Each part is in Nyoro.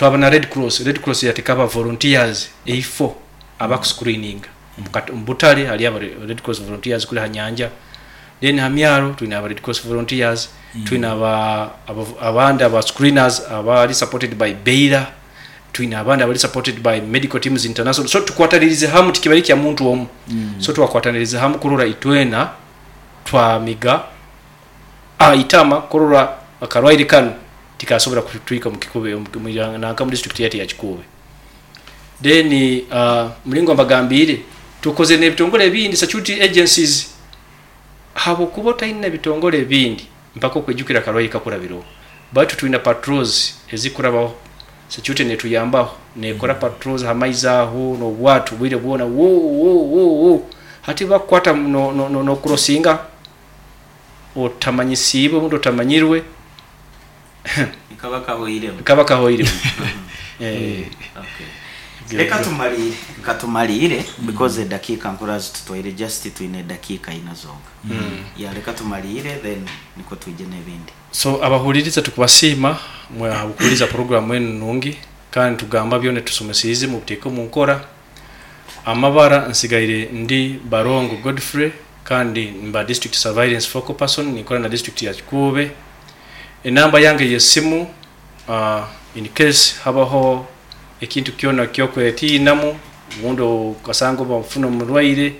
Twaba na Red Cross. Red Cross yateeka aba volunteers eifo abakuscreeninga omu butare hariyo aba Red Cross volunteers, kuri ha nyanja, then ha myaro twine aba Red Cross volunteers. Twine abandi aba screeners abari supported by Baylor, twine abandi abari supported by Medical Teams International. So tukwatanirize hamu, tikibari kya muntu omu. So twakwatanirize hamu kurora itwena twamiga itama kurora akarwaire kanu tikasobora kutwika omu Kikuube, nanka mu district yaitu ya Kikuube. Then mulingo mbagambiire, tukoze n'ebitongole ebindi, security agencies, habwokuba otaine ebitongole ebindi mpaka okwijukira akarwaire kakurabireho. Baitu twina patrols ezikurabaho, security netuyambaho, nekora patrols ha maizi aho n'obwato bwire bwona, wo wo wo wo. Hati bakukwata no crossinga otamanyisiibwe, omuntu otamanyirwe. Kaba kahoiremu. Kaba kahoiremu. Okay. Reka tumaliire because edakiika nkura zitutwaire, just twine edakiika ina zonka. Ya, reka tumaliire, then niko twije n'ebindi. So abahuliriza, tukubasiima mwe ahakuhuliriza programu enu nungi, kandi tugamba byona tusomesiize mubiteeke omu nkora. Amabara nsigaire ndi Barongo Godfrey, kandi mba district surveillance focal person, ninkora na district ya Kikuube. Enamba yange y'esimu, in case habaho ekintu kyona kyokwetiinamu, obundi okasanga oba ofuna omurwaire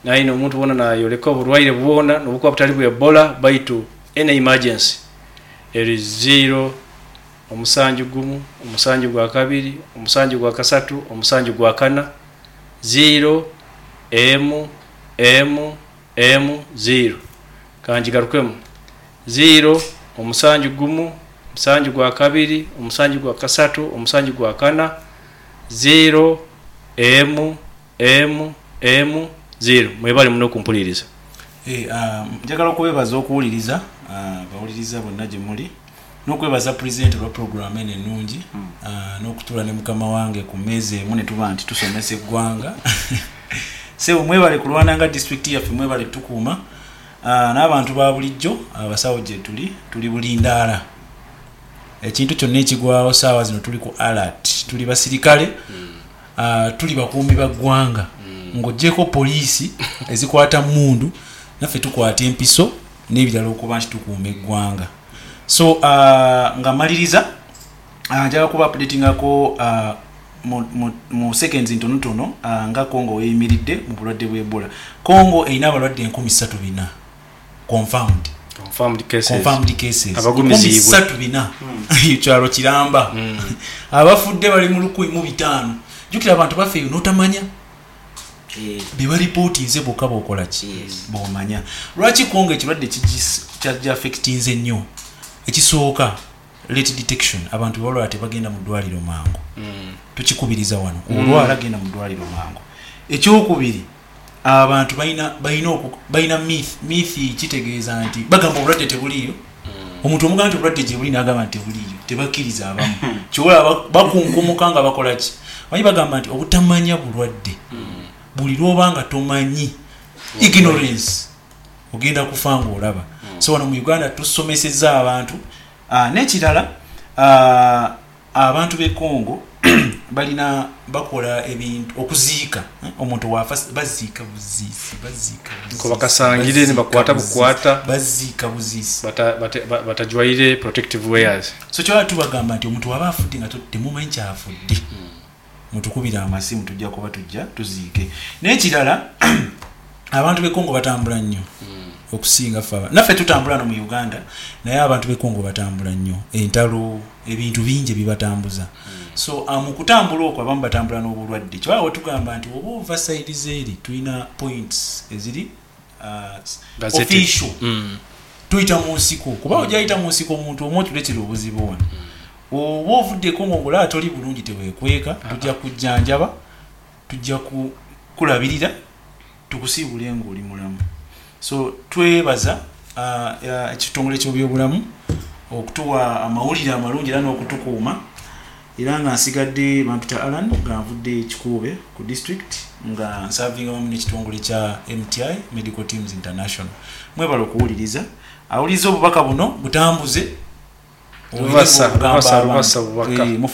naine omuntu wona nayoleka oburwaire bwona nobukuba butali bwa Ebola, baitu any emergency, eri 0 7 1 7 2 7 3 7 4 0 M M M 0. Kangigarukemu: 0 7 1 7 2 7 3 7 4 0 M M M 0. Mwebale muno okumpuliriza. Njagala okubebaza okuwuliriza, bawuliriza bonna gye muli, n'okwebaza pulezidenti olwa puroguramu eno ennungi, n'okutuula ne mukama wange ku mmeeza emu ne tuba nti tusomesa eggwanga. Sebo, mwebale kulwana nga disitulikiti yaffe, mwebale tukuuma. N'abantu ba bulijjo, abasawo gye tuli, tuli bulindaala. Ekintu kyonna ekigwawo saawa zino tuli ku alert, tuli basirikale, tuli bakuumi ba ggwanga. Ng'oggyeko poliisi ezikwata mundu, naffe tukwata empiso n'ebirala okuba nti tukuuma eggwanga. So nga maliriza, njagala kuba updatingako mu seconds ntonotono nga Congo weyimiridde mu bulwadde bwa Ebola. Congo erina abalwadde 3400 confirmed. Confirmed cases. Confirmed cases. Abagumiziibwe. 3400, ekyalo kiramba. Abafudde bali mu 1500. Jjukira abantu baffe eyo n'otamanya bebaripootinze bokka bokola ki, bomanya lwaki Kongo ekirwadde kyaffectinze nnyo. Ekisooka, late detection. Abantu bebalwala tebagenda mu ddwaliro mangu. Tukikubiriza wano, olwala genda mu ddwaliro mangu. Ekyokubiri, abantu balina myth. Kitegeeza nti bagamba obulwadde tebuliiyo. Omuntu omugamba nti obulwadde gye buli, n'agamba nti tebuliiyo, tebakkiriza. Abamu kyobola bakunkumuka nga bakola ki, manyi bagamba nti obutamanya bulwadde. Buli lwoba nga tomanyi, ignorance, ogenda kufa ngaolaba. So wano mu Uganda tusomeseza abantu. N'ekirala, abantu b'e Congo balina bakola ebintu okuziika, eh, omuntu wafa baziika buziisi, baziika buziisi, Nko bakasangire ne baziika bakwata buziisi, bukwata. Baziika buziisi. Batajwaire protective wears. So kyala tubagamba nti omuntu waba afudde nga temumanyi kyafudde, mutukubira amasimu, tujja kuba tujja tuziike. N'ekirala, abantu b'e Congo batambula nnyo okusinga ffe. Naffe tutambula no mu Uganda, naye abantu b'e Congo batambula nnyo, entalo, ebintu bingi ebibatambuza. So mu kutambula okwo abamu batambula n'obulwadde. Kyewala wetugamba nti oba ova side zeeri, tulina points eziri Gazetted. official. Tuyita mu nsiko, kuba ojayita mu nsiko omuntu omu otuleetera obuzibu wano. Oba ovuddeko ngaolaba toli bulungi, teweekweka, tujja kujjanjaba, tujja kulabirira, tukusiibule ngaoli mulamu. So twebaza ekitongole ky'ebyobulamu okutuwa amawulire amalungi era n'okutukuuma. Era nga nsigadde bampita Alan, nga nvudde Kikuube ku district, nga nsavinga wamu n'ekitongole kya MTI, Medical Teams International. Mwebale okuwuliriza. Awuliriza obubaka buno butambuze. Lubasa, Ogamba lubasa, abantu. lubasa bubaka. Eh,